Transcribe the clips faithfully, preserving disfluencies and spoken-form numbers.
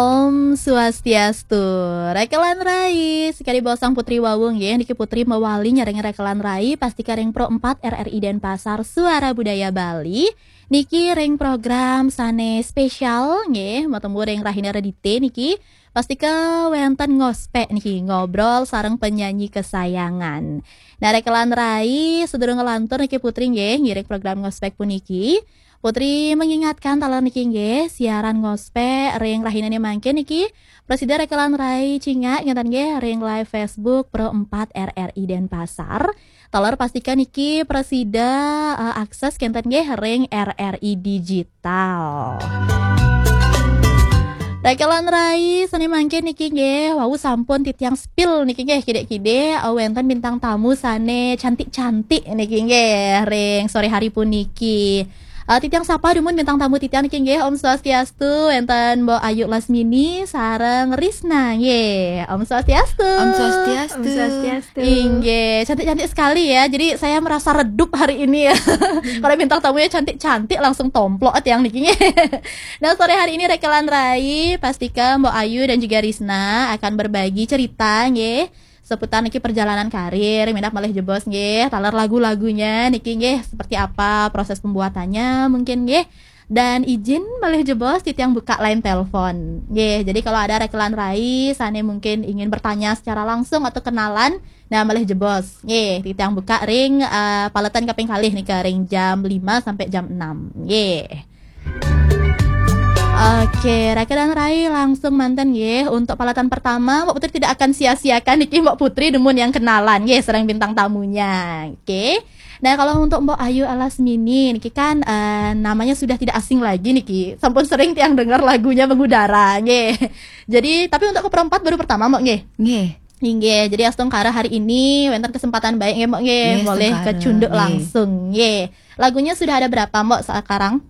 Om Swastiastu. Rekelan Rai, sekali bosang Putri Wawung ya, niki Putri mewali nyarengin Rekelan Rai, pastika ring Pro empat R R I Denpasar, Suara Budaya Bali. Niki ring program sane spesial nggih, matemu ring rahina Redite niki. Pastika wenten ngospek niki, ngobrol sareng penyanyi kesayangan. Nah, Rekelan Rai, sedurung ngelantur niki Putri nggih, ngiring program ngospek puniki. Putri mengingatkan taler niki nggih, siaran ngospek ring rahinane mangkin niki, prasida Rekelan Rai cingak ngenten nggih ring live Facebook Pro empat R R I Denpasar. Taler pastika niki prasida, eh, akses kenten nggih ring R R I Digital. Rekelan Rai sane mangkin niki nggih, wau sampun titiang spill niki nggih, kide-kide, eh, wenten bintang tamu sane cantik-cantik niki nggih, ring sore hari puniki. Eh, titiang sapa dumun bintang tamu titiang niki nggih, Om Swastiastu, wenten Mbok Ayu Lasmini sareng Risna nggih. Om Swastiastu. Om Swastiastu. Om Swastiastu. Inggih, cantik-cantik sekali ya. Jadi saya merasa redup hari ini ya. Kalau bintang tamunya cantik-cantik langsung tomplok tiang niki nggih. Nah, sore hari ini Rekelan Rai, pastika Mbok Ayu dan juga Risna akan berbagi cerita nggih seputar niki perjalanan karir, minab malih jebos nggih, taler lagu-lagunya niki nggih seperti apa proses pembuatannya mungkin nggih. Dan izin malih jebos titiang buka line telepon. Nggih, jadi kalau ada Rekelan Rai sane mungkin ingin bertanya secara langsung atau kenalan, nah malih jebos. Nggih, titiang buka ring, eh, paletan kaping kalih nika ring jam lima sampai jam enam. Nggih. Oke, Rekelan Rai langsung manten nggih. Untuk paletan pertama, Mbok Putri tidak akan sia-siakan niki Mbok Putri dumun yang kenalan nggih sareng bintang tamunya. Oke. Nah, kalau untuk Mbok Ayu Alasmini niki kan, eh, namanya sudah tidak asing lagi niki. Sampun sering tiang dengar lagunya mengudara nggih. Jadi, tapi untuk ke Pro empat baru pertama Mbok nggih. Nggih. Inggih, jadi astungkara hari ini wenten kesempatan baik nggih Mbok nggih. Nggih, Boleh astungkara, kecunduk nggih. Langsung nggih. Lagunya sudah ada berapa Mbok sekarang?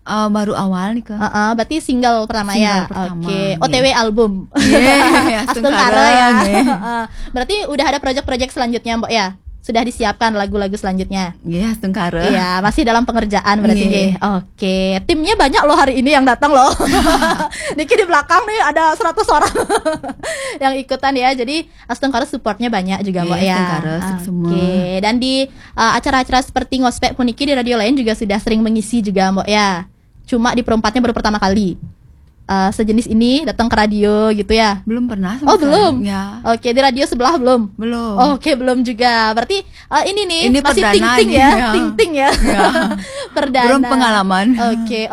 Eh, baru awal nih, Kak. Heeh, berarti single pertama ya. Single pertama, Oke, nggih. O T W album. Nggih, Astungkara ya. nggih. Heeh. Berarti udah ada project-project selanjutnya, Mbok ya? Sudah disiapkan lagu-lagu selanjutnya? Nggih, astungkara. Iya, masih dalam pengerjaan berarti Nggih. nggih. Oke, timnya banyak loh hari ini yang datang loh. Niki di belakang nih ada seratus orang yang ikutan ya. Jadi astungkara supportnya banyak juga, Mbok Nggih, ya. astungkara, sip semua. Oke, dan di, uh, acara-acara seperti ngospek puniki di radio lain juga sudah sering mengisi juga, Mbok ya. Cuma di Pro empat-nya baru pertama kali. Uh, sejenis ini datang ke radio gitu ya. Belum pernah sama Oh, sekali. belum? Ya. Oke, di radio sebelah belum? Belum. Oke, belum juga. Berarti, uh, ini nih Ini masih perdana ting-ting nih, ya, ya. ting-ting ya. Ya. Perdana. Belum pengalaman. Oke. Oh,